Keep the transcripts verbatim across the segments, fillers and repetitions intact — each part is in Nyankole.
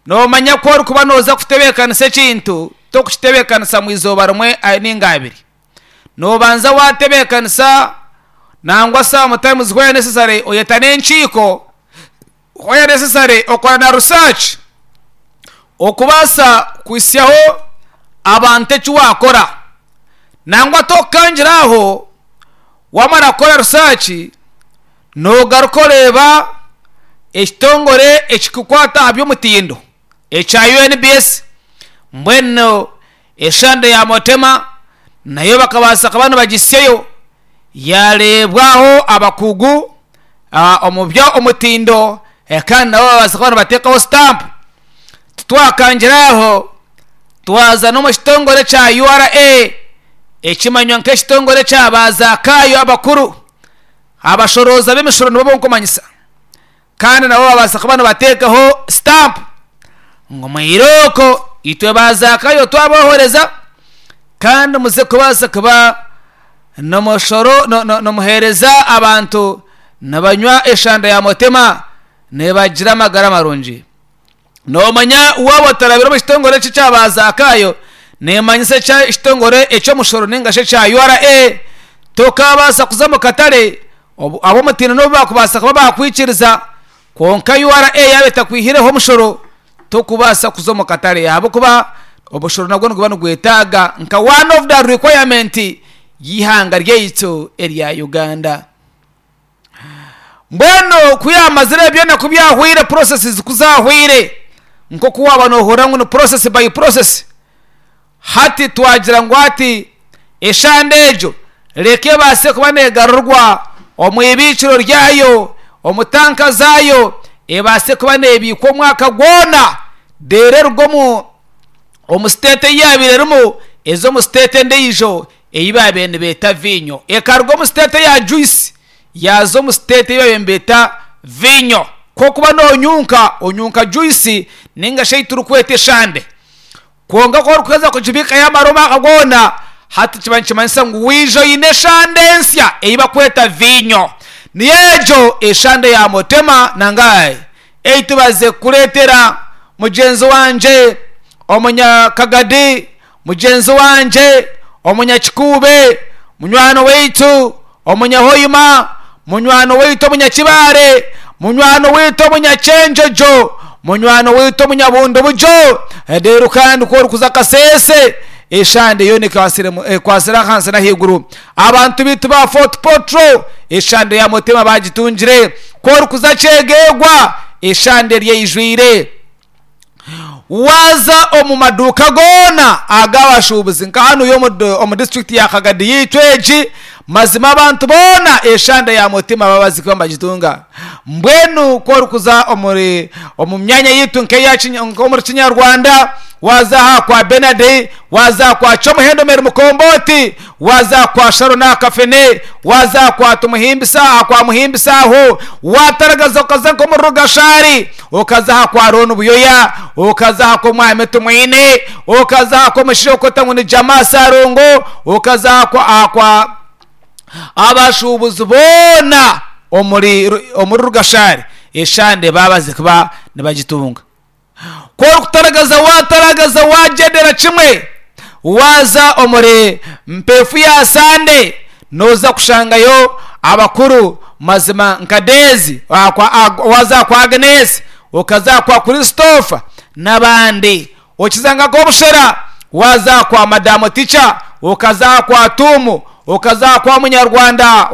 Noomanya ku orikuba nooza kutebeekanisa ekintu, tokukitebeekanisa mu izooba rimwe ninga abiri. Noobanza waatebeekanisa nangwa sometimes where necessary oyeta n'enkiiko, where necessary okora na research okubaasa kuhitsyaho abantu eki waakora. Nangwa tokukangira aho, waamara kukora research noogaruka oreeba ekitongore ekirikukwata aha by'omutindo ekya U N B S. Mbwenu eshande ya Motema nayo bakabaasa kuba nibagisyayo, yareebwaho abakugu omu by'omutindo, kandi nabo babaasa kuba nibateekaho stamp. Titwakangira aho, twaza n'omu kitongore kya U R A, ekimanywa nk'ekitongore kya bazaakayo abakuru abashorooza b'emishoro, nibo bonkumanyisa, kandi nabo babaasa kuba nibateekaho stamp ngu mwirooko itwe bazaakayo twabohoreza, kandi muze kubaasa kuba nomushoro nomuheereza abantu nibanywa eshanda ya Motema nibagira amagara marungi. Noomanya waaba otarabire omu kitongore eki ekyabazaakayo, nimanyisa ekitongore eky'omushoro ninga shi ekya U R A, tokabaasa kuza omu katare. Ab'omutindo n'obu bakubaasa kuba bakwikiriza, kwonka U R A yaaba etakwihireho omushoro, tokubaasa kuza omu katare, ahabw'okuba omushoro nagwo niguba nigwetaaga nka one of the requirement y'eihanga ryaitu erya Uganda. Mbwenu ku yamazire byona, ku byahwire, processes ku zahwire, nk'oku waaba noohurira ngu ni process by process, hati twagira ngu hati eshande egyo reka ebaase kuba neegarurwa omu ibiikiro ryayo, omu tanka zaayo, ebaase kuba neebiikwa omwaka gwona, reero eruga omu omu state ei yaabaire erimu eza omu state endiijo ei baabaire nibeeta viinyo. Ekaruga omu state ya juice yaaza omu state ei baabaire nibeeta viinyo. Kwokuba noonyunka, onyunka juice ninga shi ei turikweta eshande, kwonka ku orikuheza kugibiika yamara omwaka gwona, hati kiba nikimanyisa ngu waija oine eshande ensya ei bakweta viinyo. Niyo egyo eshande ya Motema nangahe ei tubaze kukureetera, mugyenzi wangye omunyakagadi, mugyenzi wangye omunyakikuube, munywani waitu omunyahoima, munywani waitu omunyakibare, munywani waitu omunyakyenjojo, munywani waitu omunyabundu-bugyo. Reero kandi ku orikuza Kasese, eshande yoona ekwatsire ahansi n'ahaiguru. Abantu baitu ba Fort Portal eshande ya Motema bagitungire. Ku orikuza Kyegegwa, eshande eryeijwire. Waaza omu maduuka goona ag'abashuubuzi nka hanu omu disiturikiti ya Kagadi yaitu egi, mazima abantu boona eshande ya Mutima babazi kuba nibagitunga. Mbwenu ku orikuza omuri omu myanya yaitu nk'omuri Kinyarwanda, waaza aha kwa Benard, waaza aha kwa Kyomuhendo Mary Mukombooti, waaza aha kwa Sharon aha Kafene, waaza aha kwa Tumuhimbisa, aha kwa Muhimbisa aho, waataragaza okaza nk'omuri Rugashari, okaza aha kwa Ron Buyoya, okaza aha kw'omwami Tumwine, okaza aha kw'omushaija orikwetwa ngu ni Jamaa Sarongo, okaza aha kwa, aha kwa abashuubuzi boona omuri omuri Rugashari, eshande babaze kuba nibagitunga. Ku orikutaragaza, waataragaza, waagyendera kimwe, waaza omuri mpeefu ya Sande, nooza kushangayo abakuru mazima nka Dezi, waaza aha kwa Agnes, okaza aha kwa Christopher n'abandi. Okiza nka Kobushera, waaza aha kwa Madamu Ticha, okaza aha kwa Tuumu, okaza aha kwa Munyarwanda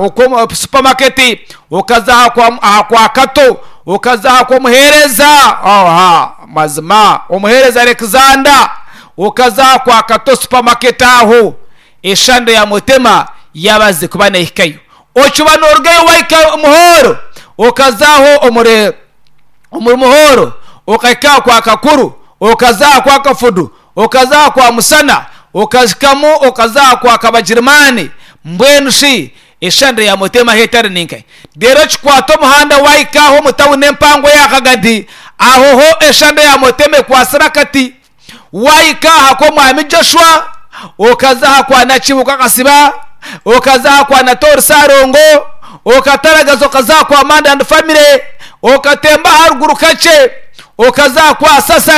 supermarket, okaza aha kwa, aha kwa Kato, okaza aha kw'omuheereza, aha mazima omuheereza Alexander, okaza aha kwa Kato supermarket aho, eshande ya Mutema yabaze kuba neehikayo. Okiba noorugayo wahika Muhoro, okazaho omuri omuri Muhoro, okahika aha kwa Kakuru, okaza aha kwa Kafudu, okaza aha kwa Musana, okahikamu okaza aha kwa Kabagirimani. Mbwenu shi eshande ya Mutema ahu etari ninkahi? Reero kikwata omuhanda wahika aho omu tawuni empango eya Kagadi, aho ho eshande ya Mutema ekwatsire akati. Wahika aha kw'omwami Joshua, okaza aha kwa Nakibuka Kasiba, okaza aha kwa Natori Sarongo, okataragaza okaza aha kwa Manda and Family, okatemba aharuguru kakye okaza aha kwa Sasa.